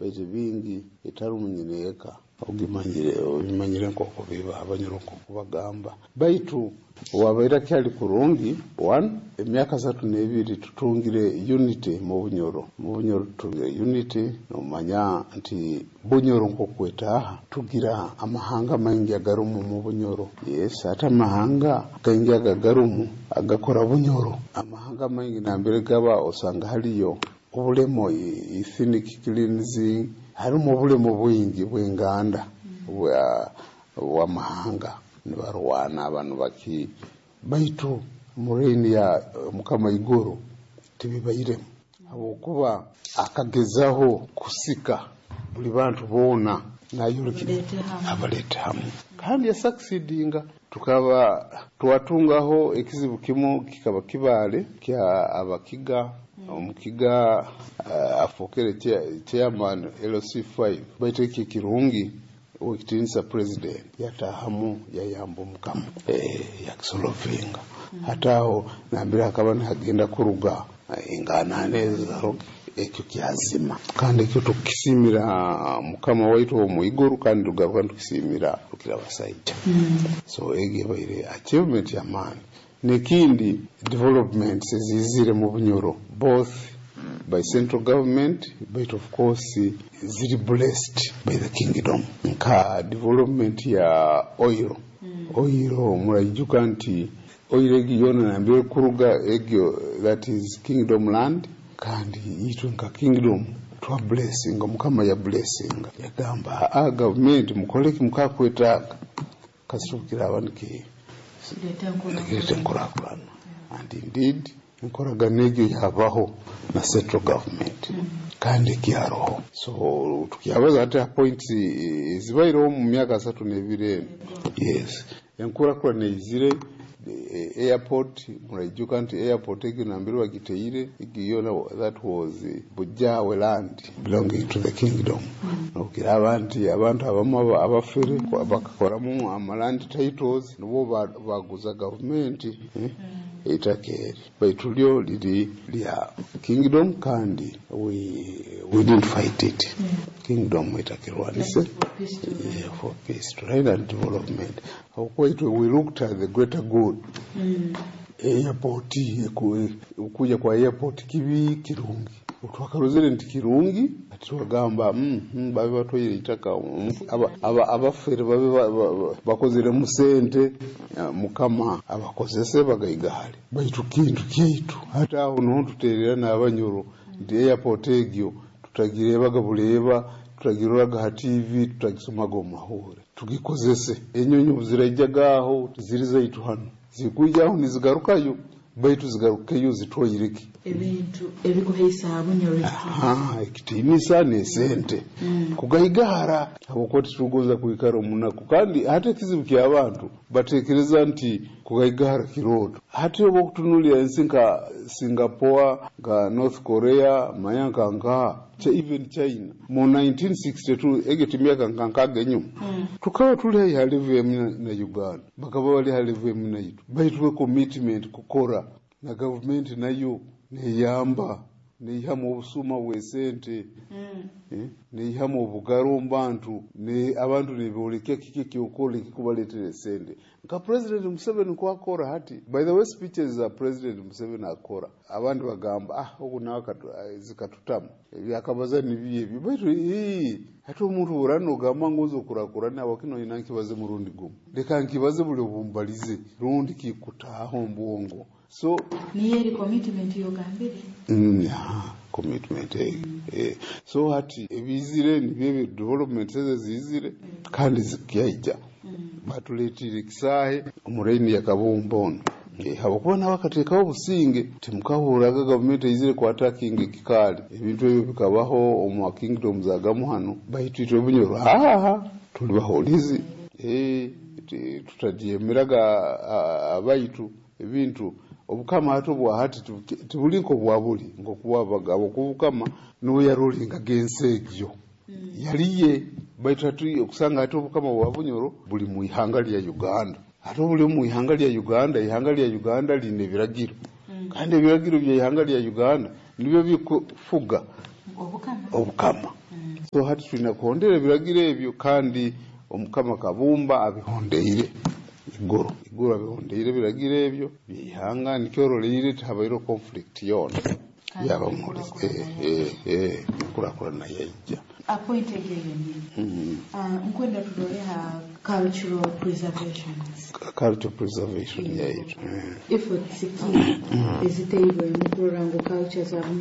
Baitu bingi etarumu nyineeka ogimanyire, obimanyire nk'oku biba, Abanyoro nk'oku bagamba. Baitu owabaire akyali kurungi, one, emyaka 32 tutungire unity mu Bunyoro. Mu Bunyoro tutungire unity. Nomanya nti Bunyoro nk'okwetaaha, tugira amahanga maingi agarumu mu Bunyoro. Yes, ate amahanga gaingi ago agarumu agakora Bunyoro, amahanga maingi nambere gaba osanga haliyo obulemo, ethnic cleansing, harimu obulemo bwingi bw'enganda bw'amahanga, nibarwana abantu baki. Baitu mu reign ya Mukama Iguru tibibairemu, habwokuba akagezaho kusika buli bantu boona nayolekera abaleete hamu, kandi yasucceedinga. Tukaba twatungaho ekizibu kimu, kikaba kibaale kya Abakiga. Omukiga afokere chairman LC5, baitu eki kirungi, owekitinisa President yatahamu, yayamba Omukama, yakisolvinga. Hataho nambere hakaba nihagenda kuruga enganane ezo, ekyo kyazima, kandi ekyo tukisimira Mukama waitu ow'omwiguru, kandi tugaruka nitukisimira Rukira Basaija. So egyo ebaire achievement y'amaani. Nekindi, developments ezizire mu Bunyoro, both by central government, but of course ziri blessed by the kingdom, nka development ya oil. Oil, muraijuka nti oil egi yoona nambere kuruga egyo, that is kingdom land, kandi itwe nka kingdom twa blessinga. Mukama ya blessinga, yagamba a gavumenti mukoleki mukakwetaaga kasitubukiraba niki nikireta enkurakurana, and indeed enkoragano egyo yabaho na central government, kandi ekyaroho. So tukyabaza hati ha points ezibaireho mu myaka 32 eno. Yes, enkurakurana eizire. Airport, muraijuka nti airport egyo nambere bagiteire, egyo yona that was Bujawe land belonging to the kingdom. Nokiraba nti abantu abamu abafere bakakoramu amaland titles, nibo baguza gavumenti eitaka eri, baitu lyo liri lya kingdom, kandi we didn't fight it. Kingdom etakirwanise. Yeah, for peace to reign and development, habwokuba we looked at the greater good. Airport, okuja kwa airport kibi kirungi, twakarozere nti kirungi, ati twagamba babe batwaire itaka, abafere babe bakozeremu sente, Mukama abakozese bagaigahale, baitu kintu kyaitu. Hati aho niho tuterera n'Abanyoro nti airport egyo tutagirebaga buleeba, tutagiroraga ha TV, tutagisomaga omu mahure, tugikozese. Enyonyi obu ziraijaga aho ziri zaitu hano, zikwijaho nizigarukayo, baitu zigarukeyo zitwaireki? Ebintu ebikuhaisa Bunyoro. Ekitiinisa n'esente kugaigahara, habwokuba titugonza kwikara omunaku. Kandi hati ekizibu ky'abantu, batekereza nti kugaigahara kirooto. Hati oba okutunulira ensi nka Singapore, nka North Korea, manya nka nkaha, even China mu 1962, egyo timyaka nka 60 enyuma, tukaba tuli haihi ha level emu na Uganda, bakaba bali ha level emu naitu, baitu we commitment kukora na gavumenti nayo neyamba, neihamu obusuma bw'esente, neihamu obugaro omu bantu, abantu nibolekya kiki ekyokora ekikubaleetera esente, nka President Museveni kwakora hati. By the way, speeches za President Museveni akora, abandi bagamba, "Ah, ogu nawe zikatutama, ebyakabaza nibiyo ebyo." Baitu hati omuntu orani nogamba ngu oza okurakurana, wakino ina nkibaze murundi gumu, leka nkibaze buli obumbalize rundi kikutaaho omu. So niyo eri commitment yogambire. Yeah, commitment. So hati ebizire nibyo ebyo, development ezo zizire kandi zikyaija. Batuleetire ekisaahe omu reign ya Kabumba ono, habwokuba nawe akateekaho obusinge. Timukahurraga gavumenti eizire kwattackinga ekikaali. Ebintu ebyo bikabaho omu kingdoms agamu hano, baitu itwe Bunyoro haha tuli bahulizi, tutadyemeraga abaitu ebintu. Obukama hati obwa hati tibuli nk'obwa buli nk'okubwabaga, habwokuba obukama nuwe yarulingaga ensi egyo yaliye. Baitu hati okusanga hati obukama bwa Bunyoro buli mu ihanga lya Uganda. Hati obuli mu ihanga lya Uganda, ihanga lya Uganda line ebiragiro, kandi ebiragiro bya ihanga lya Uganda nibyo bikufuga obukama. Obukama. So hati tulina kuhondera ebiragiro ebyo, kandi Omukama Kabumba abihondeire igoro igoro, abihondeire ebiragiro ebyo byeihanga. Nikyo oroleire tihabaireho conflict yoona. Yaba muri enkurakurana yaija. Point egyo yonyini. Nkwenda turole ha cultural preservation. Cultural preservation yaitu. Efforts ki eziteirwemu kurora ngu culture za Bunyoro